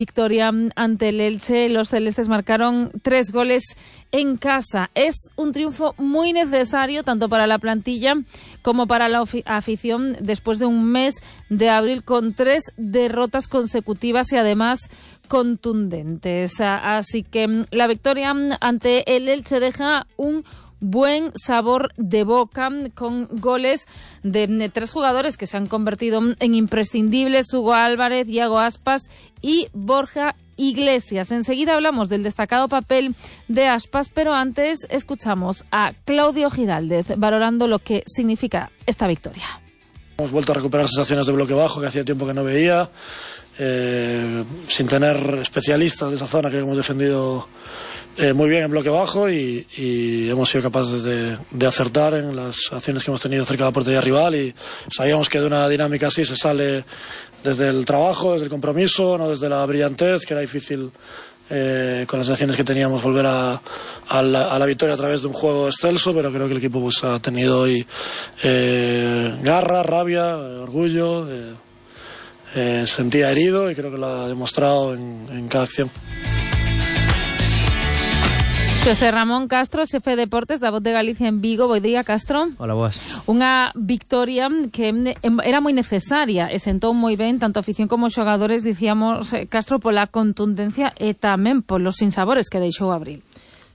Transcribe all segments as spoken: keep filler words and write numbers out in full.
Victoria ante el Elche, los celestes marcaron tres goles en casa. Es un triunfo muy necesario tanto para la plantilla como para la afición después de un mes de abril con tres derrotas consecutivas y además contundentes. Así que la victoria ante el Elche deja un buen sabor de boca con goles de, de tres jugadores que se han convertido en imprescindibles: Hugo Álvarez, Iago Aspas y Borja Iglesias. Enseguida hablamos del destacado papel de Aspas, pero antes escuchamos a Claudio Giraldez valorando lo que significa esta victoria. Hemos vuelto a recuperar sensaciones de bloque bajo que hacía tiempo que no veía, eh, sin tener especialistas de esa zona que hemos defendido Eh, muy bien en bloque bajo y, y hemos sido capaces de, de acertar en las acciones que hemos tenido cerca de la portería rival, y sabíamos que de una dinámica así se sale desde el trabajo, desde el compromiso, no desde la brillantez, que era difícil eh, con las acciones que teníamos volver a, a, la, a la victoria a través de un juego excelso, pero creo que el equipo pues, ha tenido hoy eh, garra, rabia, orgullo, eh, eh, sentía herido y creo que lo ha demostrado en, en cada acción. José Ramón Castro, xefe de deportes da Voz de Galicia en Vigo. Bo día, Castro. Hola, boas. Unha victoria que era moi necesaria e sentou moi ben tanto a afición como os xogadores, dicíamos, Castro, pola contundencia e tamén polos sinsabores que deixou abril.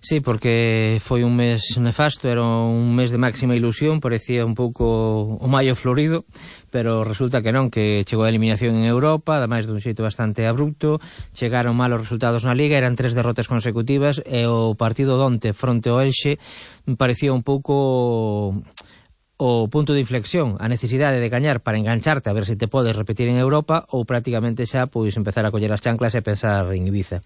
Sí, porque foi un mes nefasto, era un mes de máxima ilusión, parecía un pouco o maio florido, pero resulta que non, que chegou a eliminación en Europa, ademais dun xeito bastante abrupto, chegaron malos resultados na Liga, eran tres derrotas consecutivas, e o partido donte fronte ao Elxe parecía un pouco o punto de inflexión, a necesidade de gañar para engancharte a ver se te podes repetir en Europa, ou prácticamente xa pois empezar a coller as chanclas e pensar en Ibiza.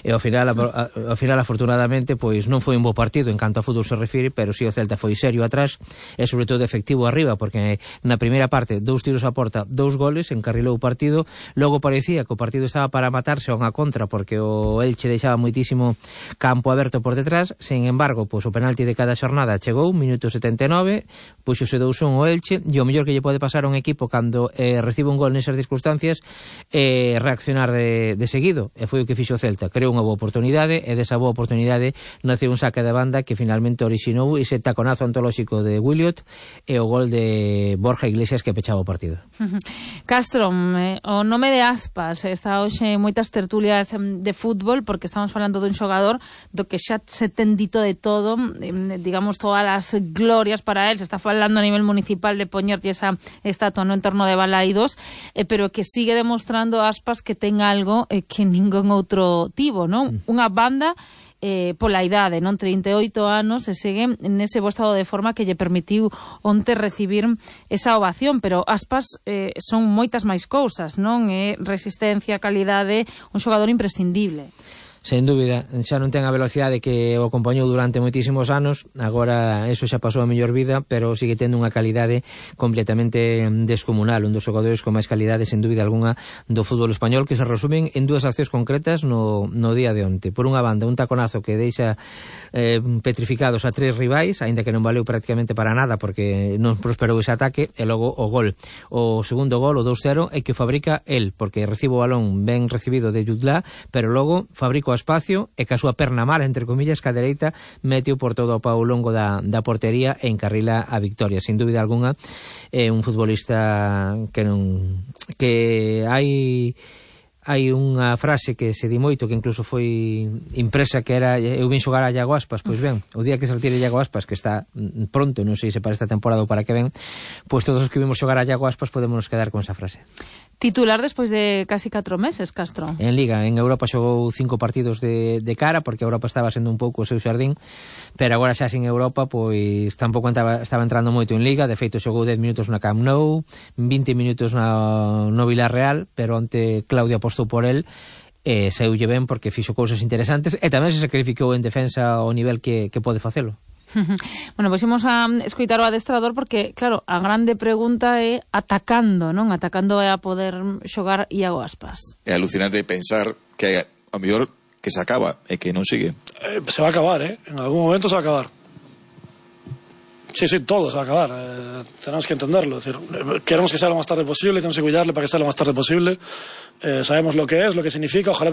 E ao final, a, ao final afortunadamente, pois non foi un bo partido en canto a fútbol se refire, pero si sí o Celta foi serio atrás e sobre todo efectivo arriba, porque na primeira parte dous tiros a porta, dous goles, encarrilou o partido. Logo parecía que o partido estaba para matarse a unha contra, porque o Elche deixaba moitísimo campo aberto por detrás. Sen embargo, pois o penalti de cada xornada chegou, minuto setenta e nove, pois se dous un o Elche, e o mellor que lle pode pasar a un equipo cando eh, recibe un gol nesas circunstancias é eh, reaccionar de, de seguido, e foi o que fixo o Celta. Creou unha boa oportunidade, e desa boa oportunidade naceu un saque de banda que finalmente orixinou ese taconazo antolóxico de Williot e o gol de Borja Iglesias que pechaba o partido. Castro, eh, o nome de Aspas está hoxe moitas tertulias de fútbol, porque estamos falando dun xogador do que xa se ten dito de todo, eh, digamos, todas as glorias para él. Se está falando a nivel municipal de poñerte esa estatua no entorno de Balaidos, eh, pero que sigue demostrando Aspas que ten algo eh, que ningún outro tivo, non? Mm. Unha banda eh, pola idade, non? trinta e oito anos, e segue nese bo estado de forma que lle permitiu onte recibir esa ovación, pero Aspas eh, son moitas máis cousas, non? Eh, resistencia, calidade, un xogador imprescindible. Sen dúbida, xa non ten a velocidade que o acompañou durante moitísimos anos, agora eso xa pasou a mellor vida, pero sigue tendo unha calidade completamente descomunal, un dos xogadores con máis calidade, sen dúbida alguna, do fútbol español, que se resumen en dúas accións concretas no, no día de onte. Por unha banda, un taconazo que deixa eh, petrificados a tres rivais, aínda que non valeu prácticamente para nada, porque non prosperou ese ataque, e logo o gol. O segundo gol, o dous cero, é que o fabrica el, porque recibe o balón ben recibido de Jutla, pero logo fabrica espacio e que a súa perna mala, entre comillas, que a dereita meteu por todo o pau longo da, da portería e encarrila a victoria. Sin dúbida alguna, é un futbolista que non que hai hai unha frase que se di moito, que incluso foi impresa, que era: eu vin xogar a Iago Aspas. Pois ben, o día que se retire Iago Aspas, que está pronto, non sei se para esta temporada ou para que ven, pois todos os que vimos xogar a Iago Aspas podemos quedar con esa frase. Titular despois de casi catro meses, Castro. En Liga, en Europa xogou cinco partidos de, de cara, porque Europa estaba sendo un pouco o seu xardín, pero agora xa sin Europa, pois tampouco estaba, estaba entrando moito en Liga. De feito, xogou dez minutos na Camp Nou, vinte minutos na, no Villarreal, pero onte Claudio apostou por el, e saiulle ben porque fixo cousas interesantes, e tamén se sacrificou en defensa ao nivel que, que pode facelo. Bueno, pois imos a escoitar o adestrador, porque, claro, a grande pregunta é atacando, non? Atacando é a poder xogar Iago Aspas. É alucinante pensar que a mellor que se acaba e que non sigue. Eh, se va a acabar, ¿eh? En algún momento se va a acabar. Sí, sí, todo se va a acabar. Eh, tenemos que entenderlo. Es decir, queremos que sea lo más tarde posible, tenemos que cuidarle para que sea lo más tarde posible. Eh, sabemos lo que es, lo que significa. Ojalá